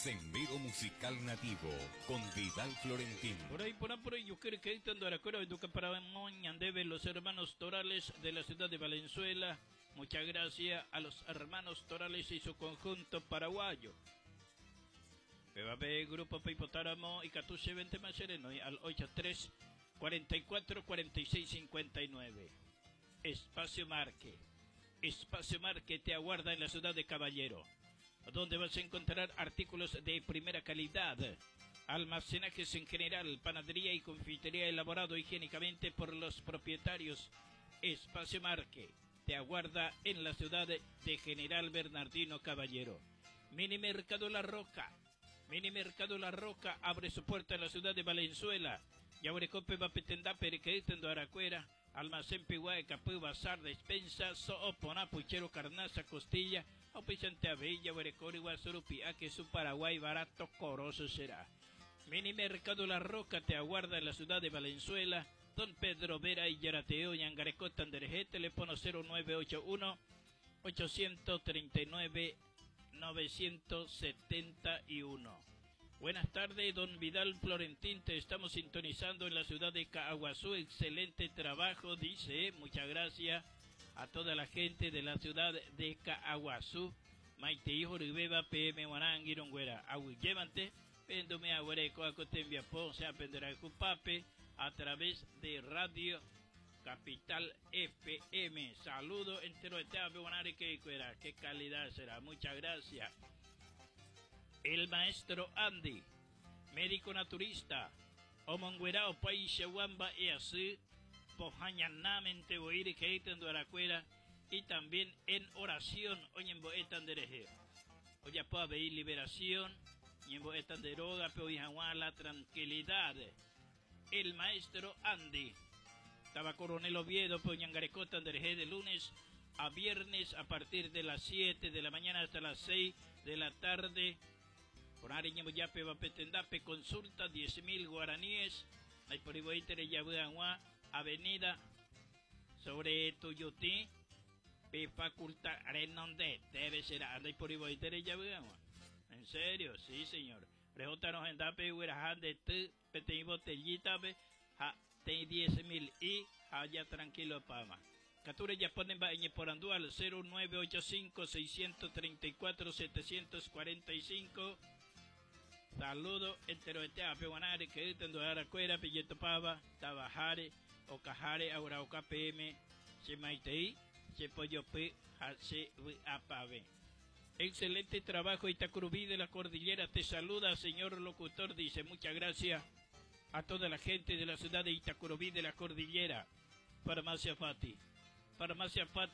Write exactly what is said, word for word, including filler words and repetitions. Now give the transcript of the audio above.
Sendero Musical Nativo con Vidal Florentín. Por ahí, por ahí, por ahí, yo creo que para debe los hermanos Torales de la ciudad de Valenzuela. Muchas gracias a los hermanos Torales y su conjunto paraguayo. P B Grupo Peipotáramo y Catuce veinte más sereno al ochenta y tres cuarenta y cuatro cuarenta y seis cincuenta y nueve. Espacio Marque. Espacio Marque te aguarda en la ciudad de Caballero, donde vas a encontrar artículos de primera calidad, almacenajes en general, panadería y confitería elaborado higiénicamente por los propietarios. Espacio Marque te aguarda en la ciudad de General Bernardino Caballero. Mini Mercado La Roca. Mini Mercado La Roca abre su puerta en la ciudad de Valenzuela. Yaburecope va petenda perequeitendo aracuera. Almacén piguay, capú, bazar, despensa, soopona, puchero, carnaza, costilla, opisante abella, huerecori, guasurupi, a que su Paraguay barato coroso será. Mini Mercado La Roca te aguarda en la ciudad de Valenzuela. Don Pedro Vera y Yarateo, Yangareco, Tandereje, teléfono cero nueve ocho uno ochocientos treinta y nueve novecientos setenta y uno. Buenas tardes, don Vidal Florentín, te estamos sintonizando en la ciudad de Caaguazú. Excelente trabajo, dice. Muchas gracias a toda la gente de la ciudad de Caaguazú. Maite hijo Ribeba P M Guaranguironguera. Agüillevante, Pendome Agüereco, Acotembia Po, sea Pape, a través de Radio Capital F M. Saludo entero de que qué calidad será. Muchas gracias. El maestro Andy, médico naturista, omonguerao paisha e así, pojañanamente boire que aracuera y también en oración oñemboetan dereje. Oye, puede liberación, ñemboetan de droga, pero la tranquilidad. El maestro Andy. Estaba Coronel Oviedo, Poñangarecota, dereje de lunes a viernes a partir de las siete de la mañana hasta las seis de la tarde. Por Yape Bapetendape, consulta diez mil guaraníes. Hay por Avenida sobre Tuyutí, P Facultad Renonde, debe ser, anda por. En serio, sí, señor. Preguntanos en Dape, de tu, pete botellita, ja, te diez mil y allá tranquilo pama. Catura ya ponen por Andual cero nueve ocho cinco seiscientos treinta y cuatro setecientos cuarenta y cinco. Saludo entero este a Peguanare que tendo Aracuera, Pilleto Pava, Tabajare, Ocajare, Aurauca P M, Semaitei, Sepollo P, H, V, A, P, Excelente trabajo, Itacurubí de la Cordillera te saluda, señor locutor, dice. Muchas gracias a toda la gente de la ciudad de Itacurubí de la Cordillera. Farmacia Fati. Farmacia Fati.